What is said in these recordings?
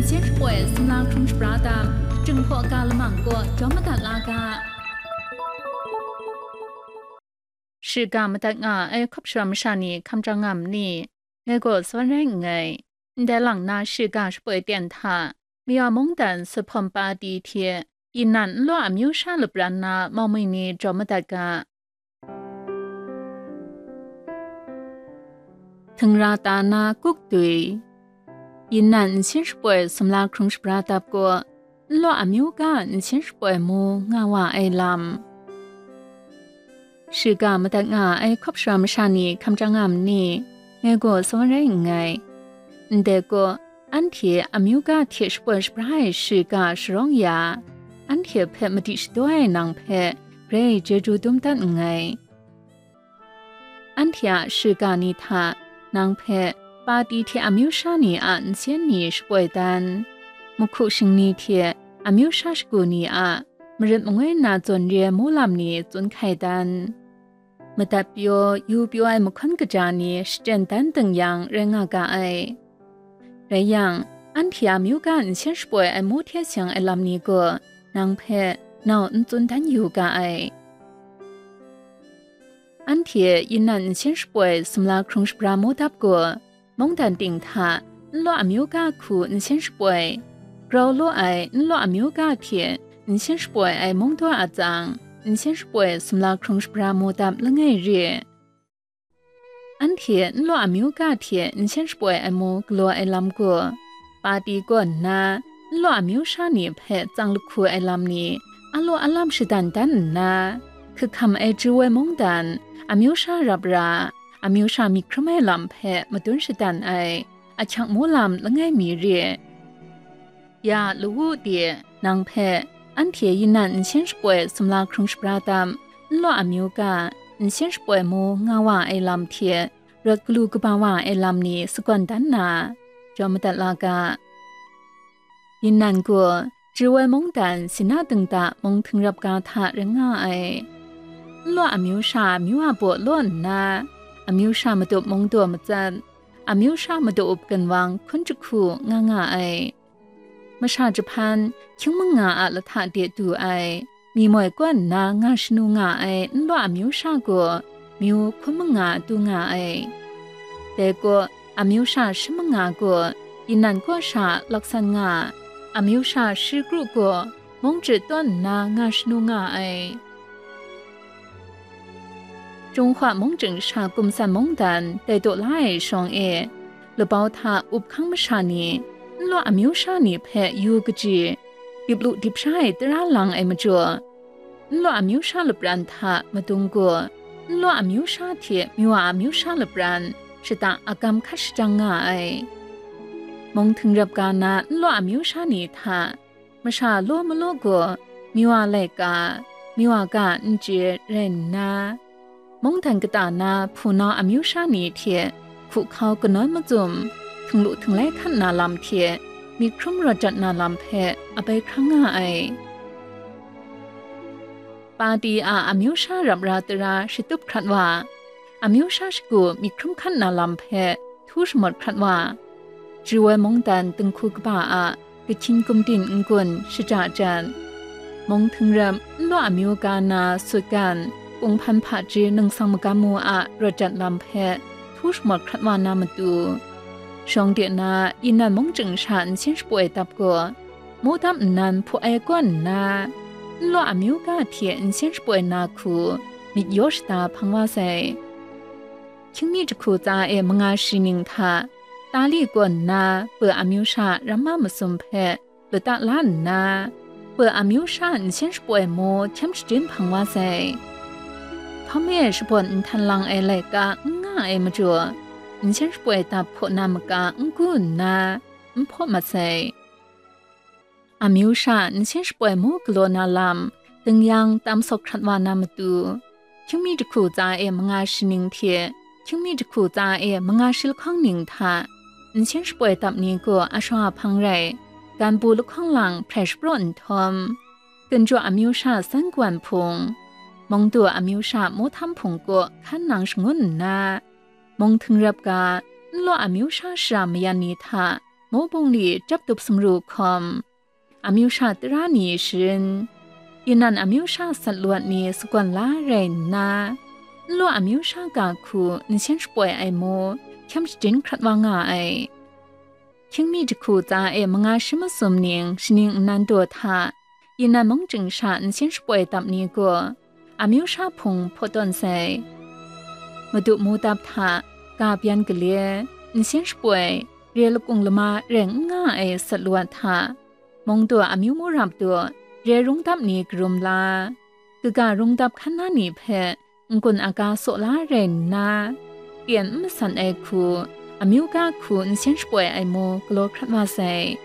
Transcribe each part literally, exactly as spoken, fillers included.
Hpyen shapoi sumla hkrung shabra tam, Jinghpaw ga lamang kaw jawm madat la ga. Shiga madat nga ai hkawp shawm masha ni hkam jang nga ma ni? Ngai gaw sa rai nngai. Ndai lang na shiga shapoi ten hta, Mayawng mungdan Suphawm Pati hte Yinan nlaw amyu sha lapran na maumwi ni jawm madat ga. Htingra ta na kuk dui. Yinan nsin shapoi sumla hkrung shabra dap gaw, nlaw amyu ga nsin shapoi mu nga wa ai lam. Shiga madat nga ai hkawp shawm masha ni hkam jang nga ma ni? Ngai gaw sa rai nngai. Ndai gaw, anhte amyu ga hte shapoi shabra ai shiga sharawng ya, anhte hpe madi shadaw ai nang hpe grai chyeju dum dat nngai. Anhte a shiga ni hta nang hpe Pati hte amyu sha ni a nsen ni shapoi dan, mahku shingni hte amyu sha shagu ni a marit mangoi na zawn re ai mu lam ni tsun hkai dan, madat pyaw yu pyaw ai mahkawn kaja ni shachyen dan ding yang rai nga ga ai. Rai yang, anhte a myu ga nsen shapoi ai mu hte seng ai lam ni gaw nang hpe nau n tsun dan yu ga ai. Anhte Yinan nsen shapoi sumla hkrung shabra mu dap gaw, mungdan ting hta nlaw amyu ga hku nsen shapoi, grau law ai nlaw amyu ga hte nsen shapoi ai mungdaw a tsang, nsen shapoi sumla hkrung shabra mu dap langai re. Anhte nlaw amyu ga hte nsen shapoi ai mu galaw ai lam gaw, Pati kaw nna nlaw amyu sha ni hpe tsang lahku ai lam ni, a law a lam shadan dan nna, hkahkam ai chyu ai mungdan, amyu sha rap ra, amyu sha myit hkrum ai lam hpe madun shadan ai, ahkyang mu lam langai mi re. Ya lawu de, nang hpe, anhte Yinan nsen shapoi sumla hkrung shabra tam, nlaw amyu ga, nsen shapoi mu nga wa ai lam hte, rawt galu kaba wa ai lam ni sagawn dan na, jawm madat la ga. Yinan gaw, chyu ai mungdan Sina dingda mung htingrap ga hta rai nga ai. Nlaw amyu sha amyu a baw law nna, amyu sha madup mungdaw matsat, amyu sha madu up ginwang hkun jahku nga nga ai. Masha jahpan, hkying manga a lahta de du ai, mi moi kaw nna nga shanu nga ai nlaw amyu sha gaw, myu hkun manga du nga ai. Dai gaw, amyu sha shi manga gaw, Yinan kaw sha laksan nga, amyu sha shi kru gaw, mung chye tawn nna nga shanu nga ai. Jinghpaw mung chying sha kumsan mungdan tai taw la ai shawng e, labau hta up hkang masha ni, nlaw amyu sha ni hpe yu kaji, dip lu dip sha ai tara lang ai majaw, nlaw amyu sha lapran hta madung gaw, nlaw amyu sha hte myu a amyu sha lapran shata agam hkat shajang nga ai. Mung htingrap ga na nlaw amyu sha ni hta, masha law malaw gaw, myu a laika, myu a ga n chye rai nna, mungdan kata na hpunau amyu sha ni hte hku hkau kanawn macum, htinglu htinglai hkan na lam hte myit hkrum rawt jat na lam hpe abai hkrang nga ai. Pati a amyu sha rap ra tara shatup hkrat wa, amyu sha shagu myit hkrum hkan na lam hpe htu shamawt hkrat wa, chyu ai mungdan dinghku kaba a kahkyin gumdin n-gun shaja jan, mung htingrap nlaw amyu ga na sutgan, kunghpan hpaji ningsang magam mu a rawt jat lam hpe htu shamawt hkrat wa na matu, shawng de na Yinan mung chying sha nsin shapoi dap gaw, mu dam nnan hpaw ai kaw nna, nlaw amyu ga hte nsen shapoi na hku myit yaw shada hpang wa sai. Hkyingmi jahku tsa e manga shi ning hta, Tali kaw nna Pe amyu sha ramma masum hpe lata la nna, Pe amyu sha nsen shapoi mu hkyam shadin hpang wa sai. Hpawm e shabawn nhtan lang ai laika n nga ai majaw, nsen shapoi dap hpaw na maka n gu nna, n hpaw mat sai. Amyu sha nsen shapoi mu galaw na lam, ding yang tam sawk hkrat wa na matu, hkyingmi jahku tsa e manga shi ning hte, hkyingmi jahku tsa e manga shi lahkawng ning hta, nsen shapoi dap ni gaw ashaw a hpang rai, ganbu lahkawng lang hprai shapraw nhtawm, ginjaw amyu sha san kawan hpung, mungdaw amyu sha mu htam hpung kaw hkan nang shangun nna, mung htingrap ga, nlaw amyu sha shara mayan ni hta, Mo bungli chyap tup sumru hkawm, amyu sha tara ni sharin, inan amyu sha sat lawt ni sagawn la rai nna, nlaw amyu sha ga hku nsen shapoi ai mu hkyam shadin hkrat wa nga ai. Hkyingmi jahku tsa e manga shi masum ning shaning nnan daw hta, inan mung chying sha nsen shapoi dap ni gaw, amyu sha hpung hpaw tawn sai. Madu mu dap hta, ga byan gale, nsen shapoi, re lakung lama rai n nga ai sat lawt hta, mung daw amyu mu rap daw, re rung dap ni karum la, kaga rung dap hkan na ni hpe n-gun aga saw la rai nna, pyen n masat ai hku, amyu ga hku nsen shapoi ai mu galaw hkrat wa sai.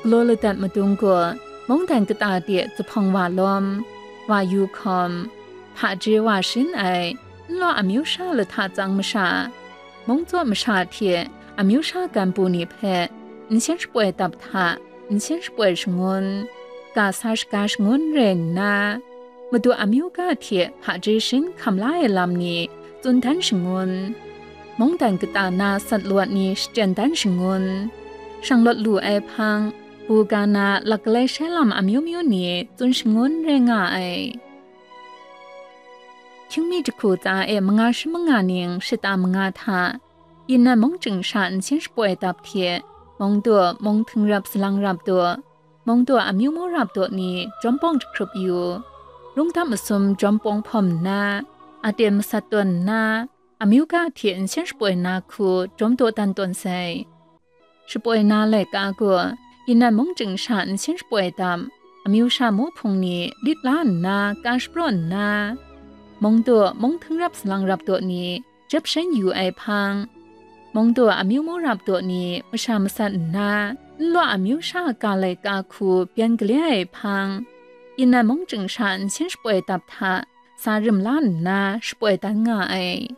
Galaw ladat madung gaw, mungdan kata de zuphpawng wa lawm, wa yu hkawm, hpaje wa shin ai, nlaw amyu sha lahta tsang masha, mung tsaw masha hte amyu sha gan bu ni hpe nsen shapoi dap hta, nsen shapoi shangun, ga sa shaga shangun rai nna, Madu amyu ga hte hpaje shin hkam la ai lam ni tsun dan shangun, mungdan kata na sat lawt ni shachyen dan shangun, shanglawt lu ai hpang, bu ga na lak galai shai lam amyu myu ni tsun shangun rai nga ai. Hkyingmi jahku tsa e manga shi manga ning shata manga hta, inan mung chying sha nsen shapoi dap hte, mung daw, mung hting rap salang rap daw, mung daw amyu mu rap daw ni jawm pawng jahkrup yu, rung dap masum jawm pawng hpawm nna, aten masat tawn nna, amyu ga hte nsen shapoi na hku jawm daw dan tawn sai. Shapoi na laika gaw, inan mung chying sha nsen shapoi dap, amyu sha mu hpung ni lit la nna ka shapraw nna, mung daw, mung hting rap salang rap daw ni jep shen yu ai hpang, mung daw amyu mu rap daw ni masha masat nna, nlaw amyu sha ga laika hku byan gale ai hpang, inan mung chying sha nsen shapoi dap hta, sa rim la nna shapoi dan nga ai.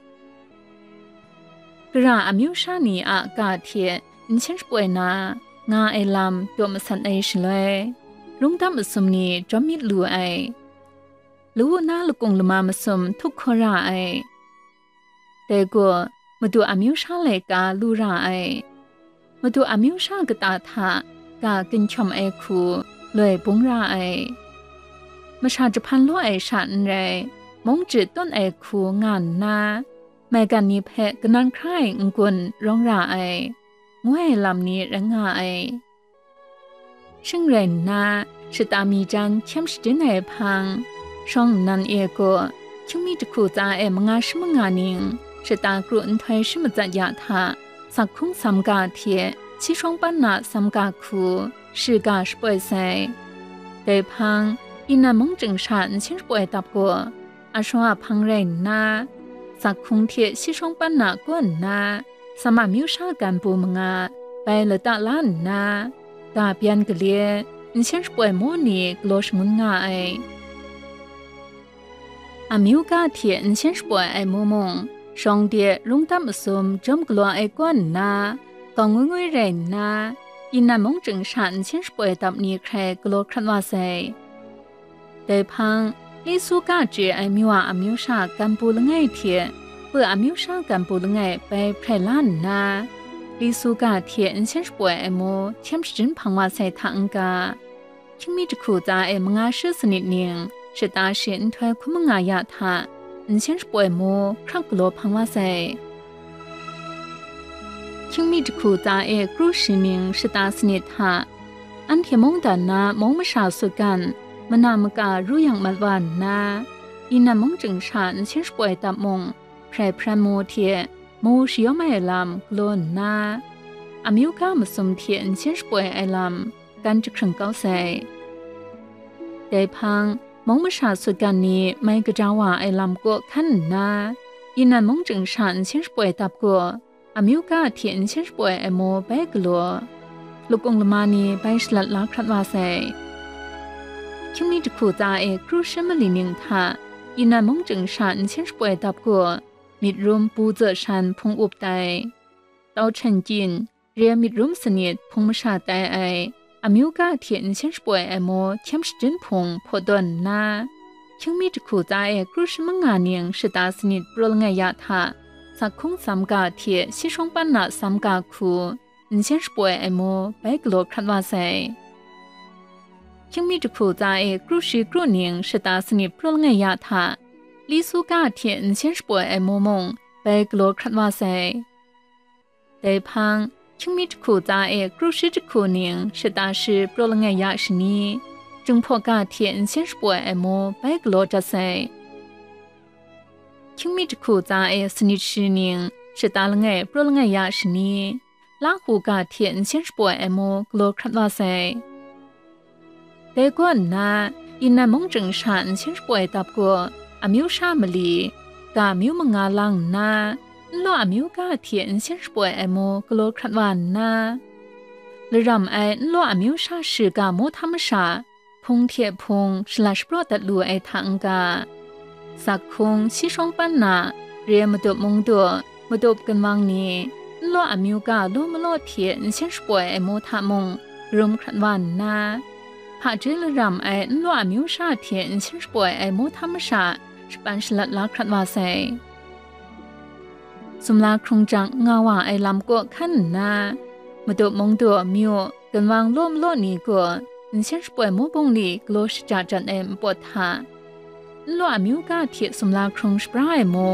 Gara amyu sha ni a ga hte nsen shapoi na nga ai lam daw masat ai shaloi, rung dap masum ni jawm myit lu ai. Lawu na lakung lama masum htup hkaw ra ai. Dai gaw, Madu amyu sha laika lu ra ai. Madu amyu sha kata hta ga ginhkyawm ai hku loi bung ra ai. Masha jahpan law ai sha n rai, mung jahtawn ai hku nga nna, maigan ni hpe kanan hkra ai n-gun rawng ra ai, ngu ai lam ni rai nga ai. Shing rai nna, shata mi jan hkyem shadin ai hpang, shawng nnan e gaw, hkyingmi jahku tsa e manga shi manga ning, shata kru nhtoi shi matsat ya hta, sak hkung sam ga hte, si shawng pan na sam ga hku, shi ga shapoi sai. Dai hpang, inan mung chying sha nsen shapoi dap gaw, a shawa hpang rai nna, sak hkung hte si shawng pan na kaw nna, Sama myu sha gan bu manga bai lata la nna, ga byan gale, nsen shapoi mu ni galaw shangun nga ai. Amyu ga hte nsen shapoi ai mu mung, shawng de rung dam masum jawm galaw ai kaw nna, gawng ngwi ngwi rai nna, inan mung chying sha nsen shapoi dap ni hkrai galaw hkrat wa sai. Dai hpang, Lisu ga chye ai myu a amyu sha gan bu langai hte, pu amyu sha gan bu langai bai hprai la nna, Lisu ga hte nsen shapoi ai mu hkyem shajin hpang wa sai hta n-ga, hkyingmi jahku tsa e manga shi sanit ning shata shi nhtoi hkun manga ya hta, nsen shapoi mu hkrak galaw hpang wa sai. Hkyingmi jahku tsa e kru shi ning shata sanit hta, anhte mungdan na mung masha sutgan, mana maka ru yang mat wa nna, inan mung chying sha nsen shapoi dap mung, hprai hpran mu hte mu shayawm ai lam galaw nna, amyu ga masum hte nsen shapoi ai lam gan jahkring kau sai. Dai hpang, mung masha sutgan ni mai kaja wa ai lam kaw hkan nna, inan mung chying sha nsen shapoi dap gaw, amyu ga hte nsen shapoi ai mu bai galaw, lakung lama ni bai shalat la hkrat wa sai. Hkyingmi jahku tsa e kru shi mali ning hta, inan mung chying sha nsen shapoi dap gaw, myit rum bu tsaw shan hpung up tai, tau hten kyin, re myit rum sanit hpung masha tai ai, amyu ga hte nsen shapoi ai mu hkyem shajin hpung hpaw tawn nna, hkyingmi jahku tsa e kru shi manga ning shata sanit praw langai ya hta, sak hkung sam ga hte si shawng pan na sam ga hku, nsen shapoi ai mu bai galaw hkrat wa sai. Hkying mi jahku tsa e kru shi kru ning shata sanit praw langai ya hta, li su ga hte nsen shapoi ai mu mung bai galaw hkrat wa sai. Dai hpang, hkying mi jahku tsa e kru shi jahku ning shata shi praw langai ya shani, Jinghpaw ga hte nsen shapoi ai mu bai galaw dat sai. Hkying mi jahku tsa e sanit shi ning shata langai praw langai ya shani, Lahu ga hte nsen shapoi ai mu galaw hkrat wa sai. Dai kaw nna, Yinan mung chying sha nsen shapoi dap gaw, amyu sha mali, ga amyu manga lang nna, nlaw amyu ga hte nsen shapoi ai mu galaw hkrat wa nna, laram ai nlaw amyu sha shiga mu htam masha, hpung hte hpung shalat shapraw dat lu ai hta n-ga, zakhung, si shawng pan na, re madup mungdaw, madup ginwang ni, nlaw amyu ga law malaw hte nsen shapoi ai mu hta mung, karum hkrat wa nna, hpaji laram ai nlaw amyu sha hte nsen shapoi ai mu htam masha, shapan shalat la hkrat wa sai. Sumla hkrung jang nga wa ai lam kaw hkan nna, madup mungdaw myu, ginwang law malaw ni gaw, nsen shapoi mu bungli galaw shaja jan ai npawt hta, nlaw amyu ga hte sumla hkrung shabra ai mu,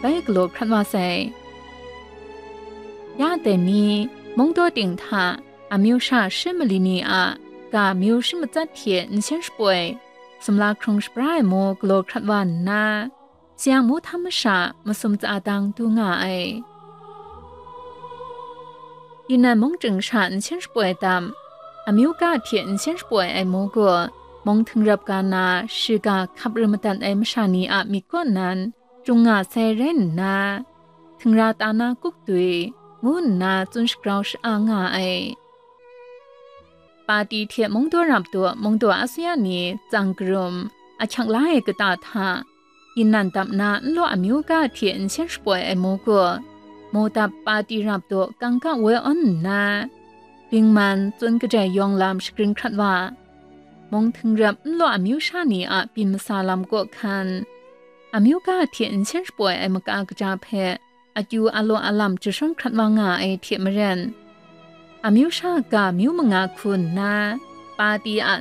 bai galaw hkrat wa sai. Ya dai ni, mungdaw ting hta, amyu sha shi mali ni a, ga amyu shi matsat hte nsen shapoi, sumla hkrung shabra ai mu galaw hkrat wa nna, sayang mu htam masha masum tsa dang du nga ai. Yinan mung chying sha nsen shapoi dam, amyu ga hte nsen shapoi ai mu gaw, mung htingrap ga na shiga hkap ru madat ai masha ni a myit kaw nan, jung nga sai rai nna, htingra ta na kup dwi, ngu nna tsun shagrau sha-a nga ai. Pati hte mungdaw rap daw mungdaw asuya ni tsang karum, ahkyak la ai kata hta, Yinan dap na nlaw amyu ga hte nsen shapoi ai mu gaw, mu dap pati rap daw kangka woi awn nna, bingman tsun kadai yawng lam shagrin hkrat wa, mung htingrap nlaw amyu sha ni a byin masa lam kaw hkan, amyu ga hte nsen shapoi ai maka kaja hpe akyu alaw alam jashawn hkrat wa nga ai hte maren, amyu sha ga myu manga hku nna, pati a